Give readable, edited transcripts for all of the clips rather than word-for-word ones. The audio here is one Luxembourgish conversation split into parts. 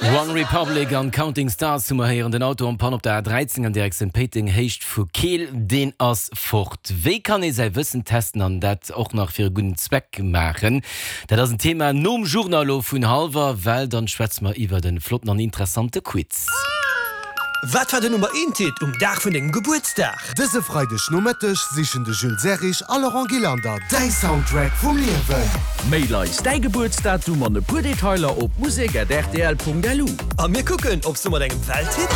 One Republic an Counting Stars hu mer héieren. Den Auto en panne op der A13 an Direktioun Péiteng, Héicht vu Keel, deen ass fort. Wéi kann ee säi Wëssen testen an dat och nach fir e gudden Zweck maachen? Dat ass en Thema nom Journal elo vun hallwer, well dann schwätze mer iwwert e flotten an interessante Quiz. Wat war den Nummer eent Hit um Dag vun dengem Gebuertsdag? Dëse Freideg Nomëtteg sichen de Jules Serrig a Laurent Gillander däi Soundtrack vum Liewen. Mail eis däi Gebuertsdatum an e puer Detailer op musek@rtl.lu. A mir kucken, ob s du mat engem Welthit.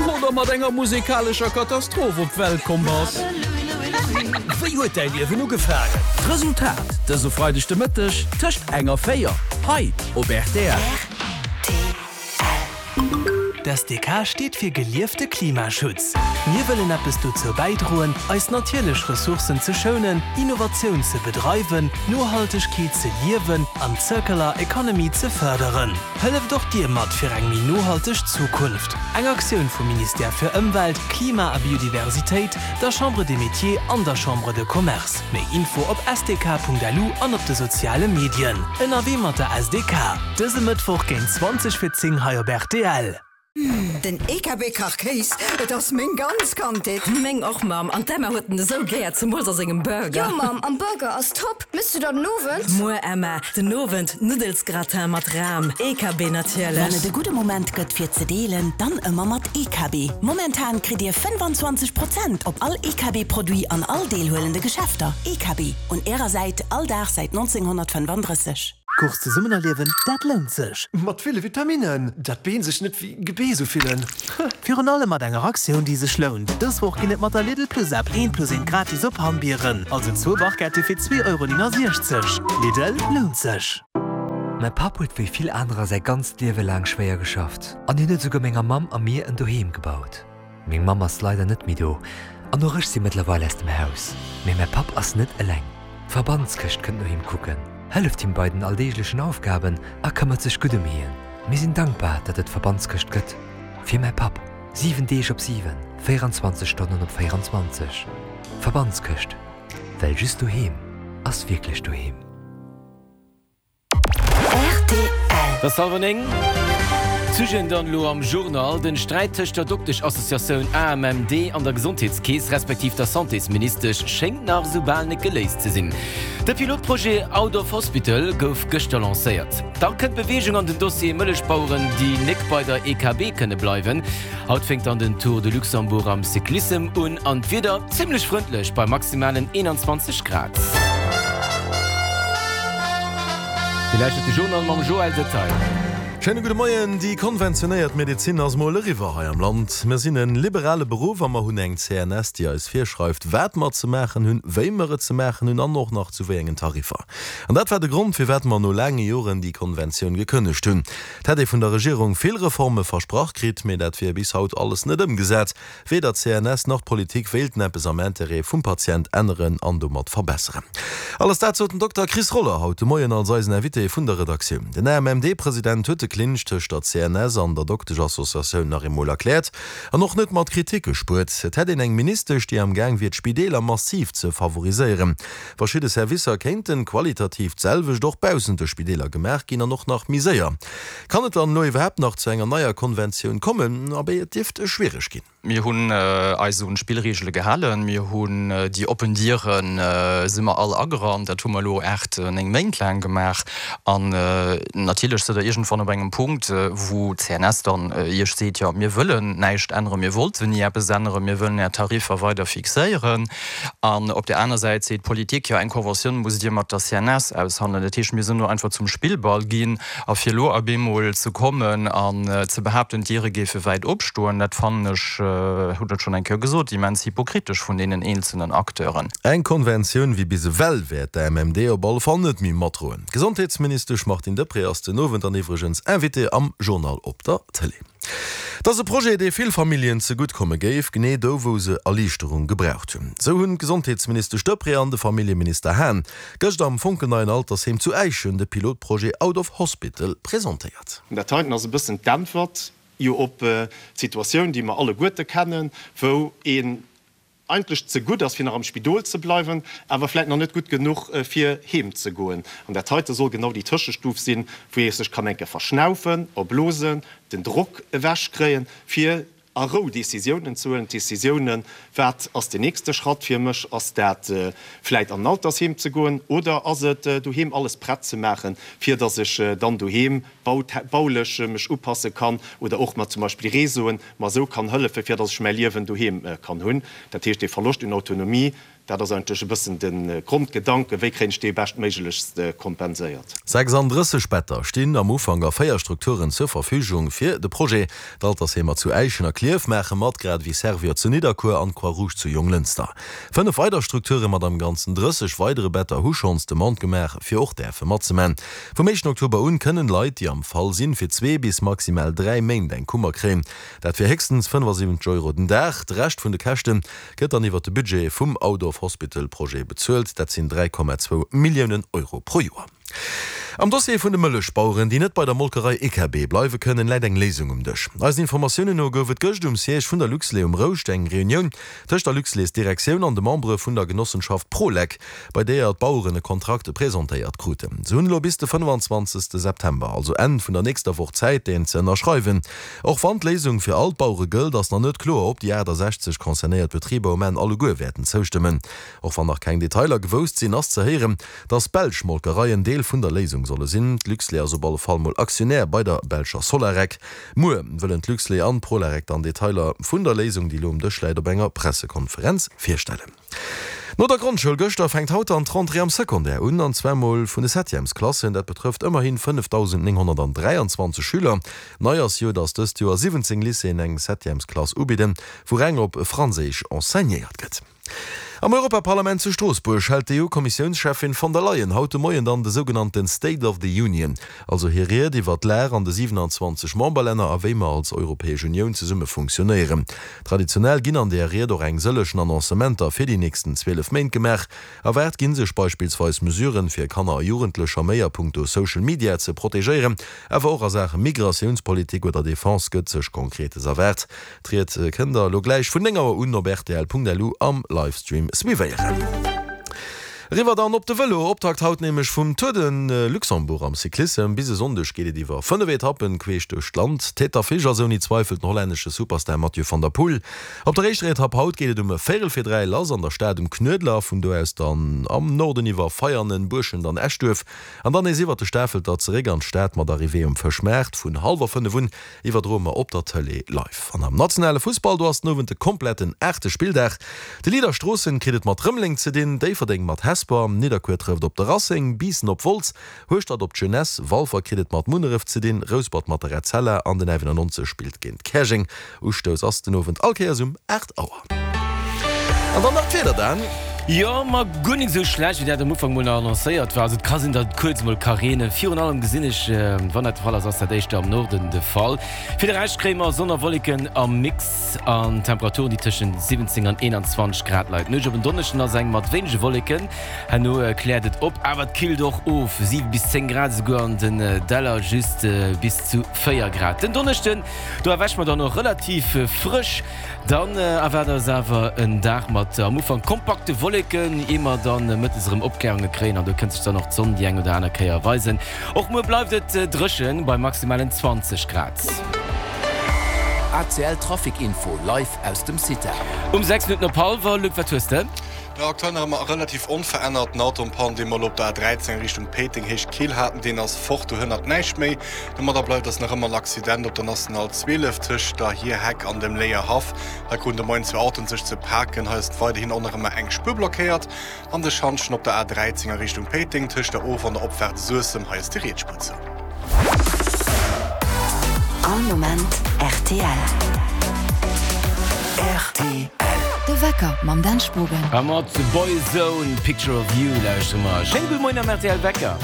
Oder mat enger musekalescher Katastroph op d'Welt komm bass. Wéi huet däi Liewen ugefaangen? D'Resultat dëse Freideg de Mëtteg tëscht eng a 4 hei op rtl. D'SDK steet fir geliefte Klimaschutz. Mir wëllen eppes dozou bäidroen, eis natierlech Ressourcen ze schounen, Innovatioun ze bedreiwen, Nohaltegkeet ze liewen an d'Circular Economy ze fërderen. Hëlleft och Dir mat fir eng méi nohalteg Zukunft! Eng Aktioun vum Ministère fir Ëmwelt, Klima a Biodiversitéit, der Chambre des Métiers an der Chambre de Commerce. Méi Info op sdk.lu an op de soziale Medien. Ënnerwee mat der SDK, dëse Mëttwoch géint 20 fir 10 hei op rtl. Den EKB Kachkéis, et ass meng ganz Kandheet. Meng och Mamm, an d'Emma huet en esou gär, zemools a sengem Burger. Jo Mamm, an Burger ass top. Mëss du der den Owend? Muer Emma, den Owend Nuddelsgratin mat Ram, EKB natierlech. Wann et e gudde Moment gëtt fir ze deelen, dann ëmmer mat EKB. Momentan kritt Dir 25 Prozent op all EKB Produit an all deelhuelende Geschäfter. EKB, un Ärer Säit all Dag säit 1935. Course zesummen erliewen, dat lount sech! Mat ville Vitaminnen, dat d'Been sech net wéi Gebeess ufillen. Virun allem mat enger Aktioun, déi sech lount. Dës Woch ginn et mat der Lidl Plus App eent plus eent gratis op Hammbieren, also zwou Barquette fir 2,69 Euro. Lidl, lount sech! Mäi Papp huet wéi vill anerer säi ganzt Liewe laang schwéier geschafft an hien huet esouguer menger Mamm a mir en Doheem gebaut. Meng Mamm ass leider net méi do an och ech si mëttlerweil aus dem Haus. Mee mäi Papp ass net eleng. D'Verbandskëscht kënnt no him kucken, hëlleft him bei den alldeeglechen Aufgaben a këmmert sech gutt ëm hien. Mir sinn dankbar, datt et d'Verbandskëscht gëtt. Fir mäi Papp. 7 Deeg op 7, 24 Stonnen op 24. D'Verbandskëscht, well just doheem ass wierklech doheem. Et ass hallwer 9. D'Sujeten dann elo am Journal, Den Sträit tëscht der Dokteschassociatioun AMMD an der Gesondheetskeess, respektiv der Santésministesch schéngt nach esou bal net geléist ze sinn. De Pilotprojet Out of Hospital gouf gëschter lancéiert. Da kënnt Beweegung an den Dossier Mëllechbaueren, déi nek bei der EKB kënne bleiwen. Haut fänkt dann den Tour de Luxembourg am Cyclissem un an d'Wieder zimmlech frëndlech bei maximalen 21 Grad. Dir lauschtert de Journal mam Joël Detaille. Schéine gudde Moien. Déi konventionéiert Medezin ass mol eriwwer hei am Land. Mir sinn en liberale Beruff a mer hunn eng CNS, déi eis virschreift, wat mer ze maachen hunn, wéi mer et ze maachen hunn an och nach zu wéi engen Tariffer. An dat war de Grond, firwat mer no laange Joren déi Konventioun gekënnegt hunn. Et hätt ee vun der Regierung vill Reforme versprach kritt, mee dat wier bis haut alles net ëmgesat. Weder d'CNS nach d'Politik wéilten eppes am Interêt vum Patient änneren an domat verbesseren. Alles dat sot den Dokter Chris Roller haut de Moien als eisen Invité vun der Redaktioun. Den AMMD-President huet de Clinch tëscht der CNS an der Dokteschassociatioun nach eemol erkläert an och net mat Kritik gespuert. Et hätt een eng Ministesch, déi am Gaang wier d'Spideeler massiv ze favoriséieren. Verschidde Servicer kéinten qualitativ d'selwecht och baussent de Spideeler gemaach ginn an och nach méi séier. Kann et dann elo iwwerhaapt nach zu enger neier Konventioun kommen? Abee, et dierft schwiereg ginn. Mir hunn eis un d'Spillreegele gehalen. Mir hunn déi oppen Diere si mer all agerannt. Dat hu mer elo 8, 9 Méint laang gemaach. An natierlech sidd Der iergendwann op engem Punkt, wou d'CNS dann Iech seet, jo mir wëllen näischt änneren, mir wollten ni eppes änneren, mir wëllen Är Tariffer weider fixéieren. An op där aner Säit seet d'Politik, jo eng Conventioun musst Dir mat der CNS aushandelen. Dat heescht, mir sinn do einfach zum Spillball ginn. A fir elo op eemol ze kommen an ze behaapten, d'Diere géife wäit opstoen, dat fannen ech, hunn et schonn eng Kéier gesot, immens hypokritesch vun deenen eenzelnen Acteuren. Eng Konventioun wéi bis ewell wäert d'AMMD op alle Fall net méi matdroen. D'Gesondheetsministesch Martine Deprez ass den Owend dann iwwregens Invitée am Journal op der Tëlee. Et ass e Projet, dee vill Familljen zegutt komme géif, genee do wou se Erliichterung gebraucht hunn. Esou hunn d'Gesondheetsministesch Deprez an de Familljeminister Hahn gëscht am fonkelneien Altersheem zu Äischen de Pilotprojet Out of Hospital presentéiert. Dat heiten ass e bëssen d'Äntwert jo op d'Situatioun, déi mer alleguerte kennen, wou een. Eigentlech ze gutt ass fir nach am Spidol ze bleiwen, awer vläit nach net gutt genuch fir heem ze goen. An dat heite soll genau déi Tëschestuf sinn, wou ee sech kann eng Kéier verschnaufen, erblosen, den Drock ewech kréien, fir a Rou Décisiounen ze huelen. Décisiounen, wat ass den nächste Schratt fir mech? Ass dat vläit an en Altersheem ze goen oder ass et doheem alles prett ze maachen, fir datt ech dann doheem baulech mech upasse kann oder och mat zum Beispill Réseauen mer esou kann hëllefen, fir datt ech mäi Liewen doheem kann hunn. Dat heescht, dee Verloscht un Autonomie, dat ass eigentlech e bëssen de Grondgedanken, wéi kréien ech dee beschtméiglechst kompenséiert. 36 Better stinn am Ufank a 4 Strukturen zur Verfügung fir de Projet. D'Altersheemer zu Äischen a Klierf maache mat, grad ewéi Servior zu Nidderkuer an d'Croix-Rouge zu Jonglënster. 5 weider Strukture mat am Ganzen 30 weidere Better hu schonns Demande gemaach, fir och däerfe matzeman. Vum éischten Oktober un kënnen Leit, déi am Fall sinn, fir zwee bis maximal 3 Méint eng Kummer kréien. Dat fir héchstens 75 Euro den Dag. De Rescht vun de Käschte gëtt dann iwwert de Budget vum Out-of-Hospital-Projet bezuelt. Dat sinn 3,2 Milliounen Euro pro Joer. Am Dossier vun de Mëllechbaueren, déi net bei der Molkerei EKB bleiwe kënnen, läit eng Léisung um Dësch. Eisen Informatiounen no gouf et gëscht um Siège vun der Luxlait um Rouscht eng Reunioun tëscht der Luxlait-Direktioun an de Membere vun der Genossenschaft Prolec, bei deeër d'Baueren e Kontrakt presentéiert kruten. Se hunn elo bis de 25. September, also Enn vun der nächster Woch Zäit, deen ze ënnerschreiwen. Och wann d'Léisung fir all d'Bauere gëllt, ass nach net kloer, ob déi 68 concernéiert Betriber um Enn alleguer wäerten zoustëmmen. Och wann nach keng Detailer gewousst sinn, ass ze héieren, dass belsch Molkereien Deel vun der Léisung solle sinn. D'Luxlait ass op alle Fall mol Aktionär bei der belscher Solarec. Muer wëllen d'Luxlait an d'Prolarec dann Detailer vun der Léisung, déi elo um Dësch läit, op enger Pressekonferenz virstellen. No der Grondschoul gëschter fänkt haut dann d'Rentrée am Secondaire un, an zwar mol vun de Septièmesklassen. Dat betrëfft ëmmerhi 5.923 Schüler. Nei ass jo, datt dëst Joer 17 Lycéeën eng Septièmesklass ubidden, wou reng op Franséisch enseignéiert gëtt. Am Europaparlament zu Stroossbuerg hält d'EU-Kommissiounscheffin von der Leyen haut de Moien dann de sougenannte State of the Union, Also hir Ried iwwer d'Lag an de 27 Memberlänner a wéi mer als Europäesch Unioun zesumme funktionéieren. Traditionell ginn an där Ried och eng sëllechen Annoncementer fir déi nächsten 12 Méint gemaach. Erwaart ginn sech beispillsweis Mesuren, fir Kanner a Jugendlecher méi a punkto Social Media ze protegéieren. Awer och a Saache Migratiounspolitik oder Defense gëtt sech Konkretes erwaart. D'Ried kënnt der elo gläich vun 9 Auer un op rtl.lu am Livestream suivéieren. Eriwwer dann op de Vëlo, Optakt haut nämlech vum Tour de Luxembourg am Cyclissem. Bis e Sonndeg geet et iwwer 5 Etappen queesch duerch d'Land. Tête d'affiche ass ouni Zweifel den hollännesche Superstar Mathieu van der Poel. Op der éischter Etapp haut geet et um véierel vir 3 lass an der Stad um Knuedler, vun do aus dann am Norden iwwer Veianen, Buerschent an Eschduerf an dann nees iwwer de Stafelter zeréck an d'Stad mat Arrivée um Fëschmaart. Vun hallwer 5 un Iwwerdroe mer op der Tëlee live. An am nationale Fussball, do ass den Owend de kompletten aachte Spilldag. De Leader Stroossen kritt et mat Rëmeleng ze dinn, Déifferdeng mat Hesper, Nidderkuer trëfft op de Racing, Biissen op Wolz, Hueschtert op d'Jeunesse, Walfer kritt et mat Munneref ze dinn, Rouspert mat der Etzella an den 91 spillt géint Käerjeng. Ustouss ass den Owend all Kéiers um 8 Auer. An dann nach d'Wieder, Dan. Jo, ma guer nik esou schlecht wéi dat am Ufank mol nach annoncéiert war. Also et ka sinn, datt et kuerz mol ka reenen. Virun allem gesinn ech, wann dat de Fall ass, ass dat éischter am Norden de Fall. Fir de Rescht kréie mer Sonn a Wolleken am Mix an Temperaturen, déi tëschent 17 an 21 Grad leien. D'Nuecht op en Donneschden ass eng mat wéinege Wolleken, herno kläert et op, awer et killt och of, 7 bis 10 Grad, esouguer an den Däller just bis zu 4 Grad. Den Donneschden Do erwäche mer dann och relativ frësch. Dann erwaart eis awer en Dag mat am Ufank kompakte Wolleken, ier mer dann mëttes erëm Opklärunge kréien an do kënnt sech dann och d'Sonn déi eng oder aner Kéier weisen. Och muer bleift et dréchen bei maximalen 20 Grad. ACL Trafic Info live aus dem CITA. Um 6 Minutten op hallwer, Luc, wat hues de? Jo, aktuell nach ëmmer relativ onverännert. Den Auto en panne, dee mer elo op der A13 Richtung Péiteng Héicht Keel haten, deen ass fort, do hënnert näischt méi. Domadder bleift ass nach ëmmer en Accident op der National 12 tëscht der Hierheck an dem Léierhaff. Hei kruten de Moien zwou Autoen sech ze paken. Hei ass weiderhin och nach ëmmer eng Spuer blockéiert. An de Schantjen op der A13 a Richtung Péiteng tëscht der Of an der Opfaart Suessem, hei ass déi riets Spuer zou. All Moment rtl. Rtl. De Wecker mam Dan Spogen. A mat Boyzone, Picture of You lauschtere mer. Schéine gudde Moien am rtl Wecker.